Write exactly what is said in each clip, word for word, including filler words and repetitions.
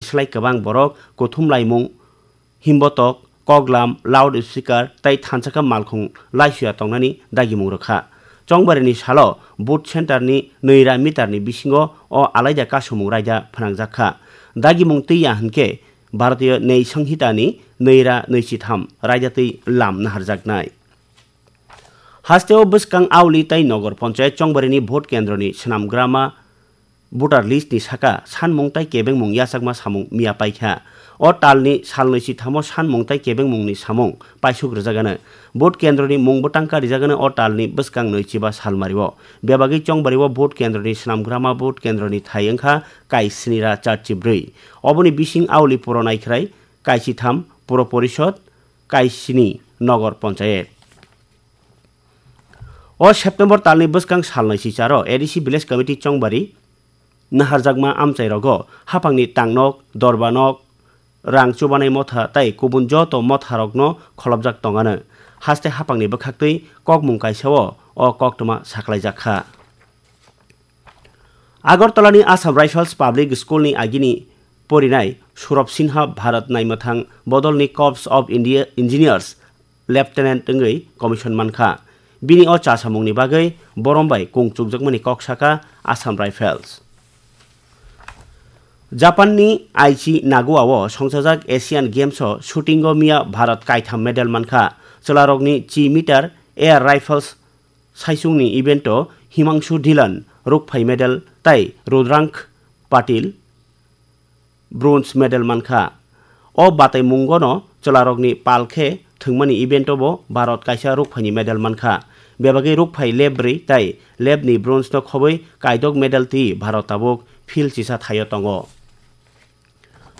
slai kwbang borok kuthum laimung, himbotok, koklam, loud speaker tei thansa khe malkhung laisuya tongnani dagimung rwkha. Chongbarini salo vote center ni nwira meter ni bisingo o alaida kasumung raida phnangjakha. Dagimung twi ya hinkhe Bharatiya Nyai Sanhita ni nwira nwichitham raida twi lam naharjaknai. Hasteo bwskang auli tei nogor ponchayat chongbarini vote kendroni swnamgrama voter list ni saka sanmung tei kebengmung yachakma samung miya paikha. O talni salnwi chithamo sanmung tei kebengmungni samung paisuk rwjagano. Vote kendroni mung bwtangka rijagano o talni bwskang nwi chiba salmario. Bebagwi chongbario vote kendroni swnamgrama vote kendroni thai wngkha kaisnira charchi bwrwi. Oboni bising auli puro naikhrai kaisitham puro porishod kaisini nogor ponchayat. O September talni bwskang salnwi sicharo A D C Village Committee chongbari naharjakma amchairogo haphangni tangnok, dorbanok, rang chubanai motha tei kubun joto motharokno kholopjak tongano. Haste haphangni bwkhaktwi kokmung kaisao o koktwma sakhlaijakha. Agartalani Assam Rifles Public School ni agini porinai Surab Sinha Bharat naimwthang bodolni Corps of India Engineers Lieutenant wngwi commission mankha. Bini o chasamungni bagwi borom bai kung chukjakmani kok saka Assam Rifles. Japanni Aichi Nagoa-o songchajak Asian Games-o shooting-o miya Bharat kaitham medal mankha. Chwlarokni chi meter air rifles saichungni event-o Himangshu Dhillon rukphai medal tei Rudrangkh Patil bronze medal mankha. O bataimungono chwlarokni pal khe thwngmani event-o bo Bharat kaisa rukphaini medal mankha. Bebagwi rukphai lebri tei lebni bronze-no khobwi kaidok medal twi Bharat tabuk field chisa thaio tongo.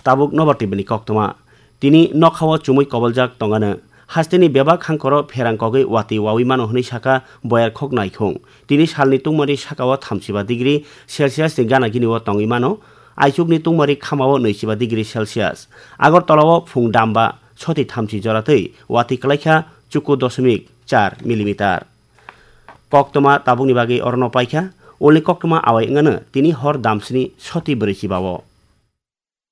Tabuk nobar tibini koktwma. Tini nokhao chumui koboljak tongano. Hasteni bebak hangkoro pherang kogwi watwi wawi mano hwnwi saka boyar khok naikhung. Tini salni tungmari sakao thamchiba degree Celsius ni gana gini o tongwi mano. Aichukni tungmari khamao nwichiba degree Celsius. Agartala-o phung damba soti thamchi jora twi watwi kwlaikha chuku dosmik char millimeter. Koktwma tabukni bagwi orono paikha, ulni koktwma awai wngano tini hor damsini soti bwrwi chibao.